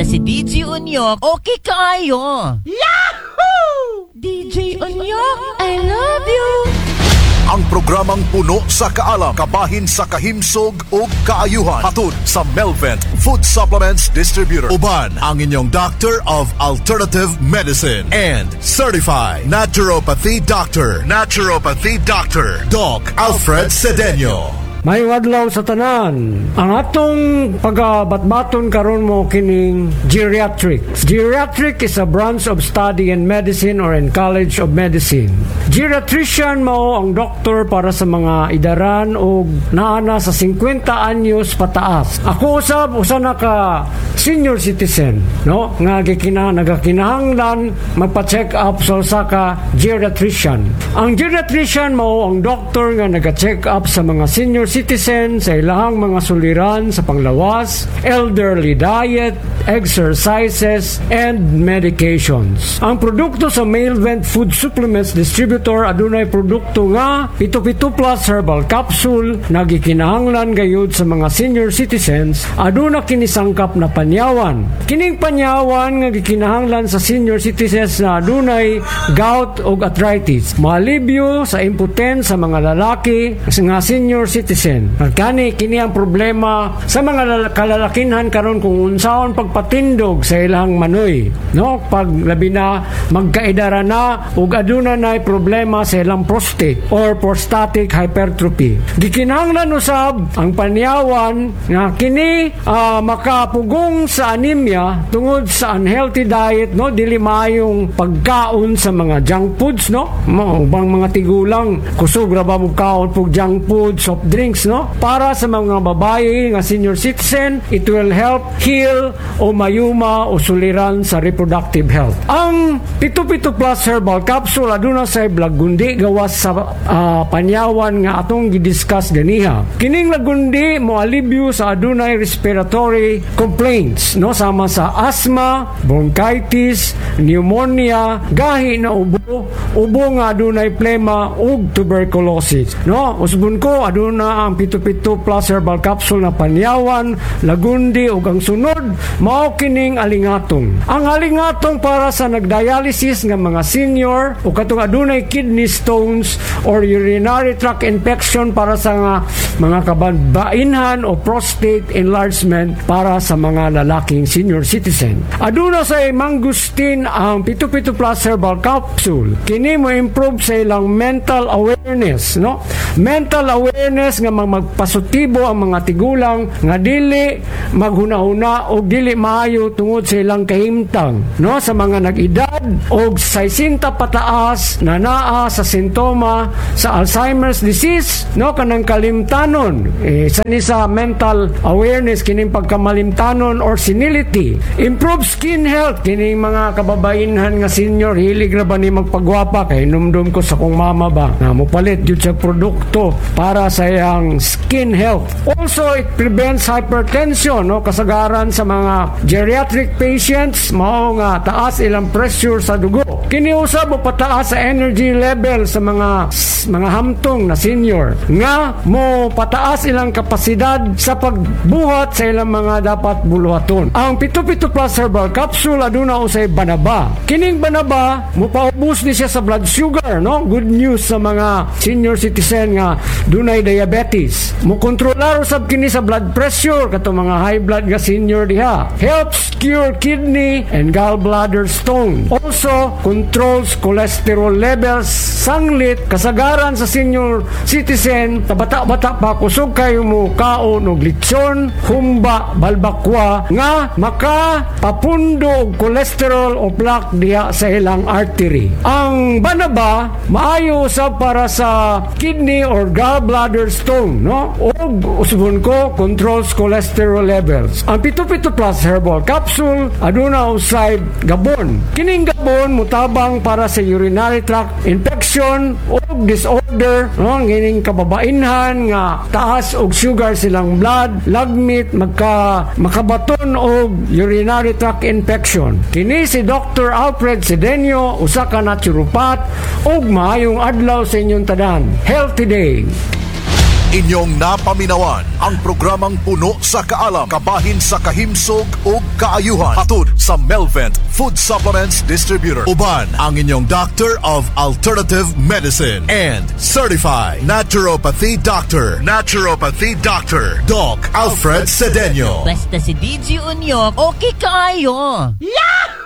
Si DJ Unyok, okay kaayo. Yahoo! DJ Unyok, I love you! Ang programang puno sa kaalam, kabahin sa kahimsog ug kaayuhan. Hatod sa Melvent Food Supplements Distributor. Uban ang inyong Doctor of Alternative Medicine and Certified Naturopathy Doctor. Naturopathy Doctor, Doc Alfred Cedeño. Maayong adlaw sa tanan. Ang atong pagabatbaton karon mao kining geriatrics. Geriatric is a branch of study in medicine or in College of Medicine. Geriatrician mao ang doktor para sa mga idaran og naa na sa 50 anyos pataas. Ako usab usa na ka senior citizen, no, nga nagakinahanglan magpa-check up sa usa ka geriatrician. Ang geriatrician mao ang doktor nga naga-check up sa mga senior citizen sa ilahang mga suliran sa panglawas, elderly diet, exercises, and medications. Ang produkto sa Mailvent Food Supplements Distributor, adunay produkto nga 77 Plus Herbal Capsule na gikinahanglan gayud sa mga senior citizens. Aduna kini sangkap na panyawan. Kining panyawan nga gikinahanglan sa senior citizens na adunay gout ug arthritis. Maalibyo sa impotence sa mga lalaki nga senior citizen. Kani kini ang problema sa mga kalalakinhan karon kung unsaon pagpatindog sa ilang manoy, no, pag labi na magkaedara na ug aduna nay problema sa ilang prostate or prostatic hypertrophy. Gikinahanglan usab ang panyawan nga kini makapugong sa anemia tungod sa unhealthy diet, no, dili maayong pagkaon sa mga junk foods, no, mo ubang mga tigulang kusog ra ba mo kaon pug junk food, soft drinks, no. Para sa mga babae nga senior citizen, it will help heal o mayuma o suliran sa reproductive health. Ang 77 Plus Herbal Capsule aduna sa lagundi gawas sa panyawan nga atong gidiscuss ganiha. Kining lagundi mo alibyo sa adunay respiratory complaints, no, sama sa asthma, bronchitis, pneumonia, gahi na ubo, ubo nga adunay plema ug tuberculosis, no. Usbon ko, aduna ang 77 Plus Herbal Capsule na panyawan, lagundi, ug ang sunod mao kining alingatong. Ang alingatong para sa nagdialysis nga mga senior o katong adunay kidney stones or urinary tract infection para sa nga mga kababainhan o prostate enlargement para sa mga lalaking senior citizen. Aduna sa mangustin ang 77 Plus Herbal Capsule. Kini mo improve sa ilang mental awareness, no? Mental awareness nga magpasutibo ang mga tigulang nga dili maghuna-huna o dili maayo tungod sa ilang kahimtang, no, sa mga nag-edad og 60 pataas na naa sa sintoma sa Alzheimer's disease, no, kanang kalimtanon, eh, sa ni sa mental awareness kining pagkamalimtanon or senility. Improve skin health. Kining mga kababainhan nga senior, hilig ra ba ni magpagwapa, kay numdum ko sa kong mama ba nga mopalit gyud sa produkto para sa iyang skin health. Also, it prevents hypertension, no, kasagaran sa mga geriatric patients mao nga taas ilang pressure sa dugo. Kini usab mo pataas sa energy level sa mga hamtong na senior nga mo pataas ilang kapasidad sa pagbuhat sa ilang mga dapat buluhaton. Ang 77 Plus Herbal Capsule aduna usay banaba. Kining banaba mo paubos ni siya sa blood sugar, no? Good news sa mga senior citizen nga dunay diabetes. Mo kontrolar usab kini sa blood pressure kato mga high blood nga senior diha. Helps cure kidney and gallbladder stone. Also controls cholesterol levels. Sanglit kasagaran sa senior citizen, bata-bata pa, kusog kayo mo kaon og lechon, humba, balbakwa nga makapapundo og cholesterol o plaque diha sa ilang artery. Ang banaba maayo usab para sa kidney or gallbladder stone, no? Og usbon ko, controls cholesterol levels. Ang 77 Plus Herbal Capsule aduna usay gabon. Kining gabon mutabang para sa urinary tract infection o disorder, no, kining kababainhan nga taas og sugar silang blood, lagmit makabaton og urinary tract infection. Kini si Dr. Alfred Cedeño, usa ka naturopath, ug maayong adlaw sa inyong tanan. Healthy day. Inyong napaminawan ang programang puno sa kaalam, kabahin sa kahimsog ug kaayuhan. Hatod sa Melvent Food Supplements Distributor. Uban ang inyong Doctor of Alternative Medicine and Certified Naturopathy Doctor. Naturopathy Doctor, Doc Alfred Cedeño. Basta si DJ Unyok, okay kaayo. Yahoo!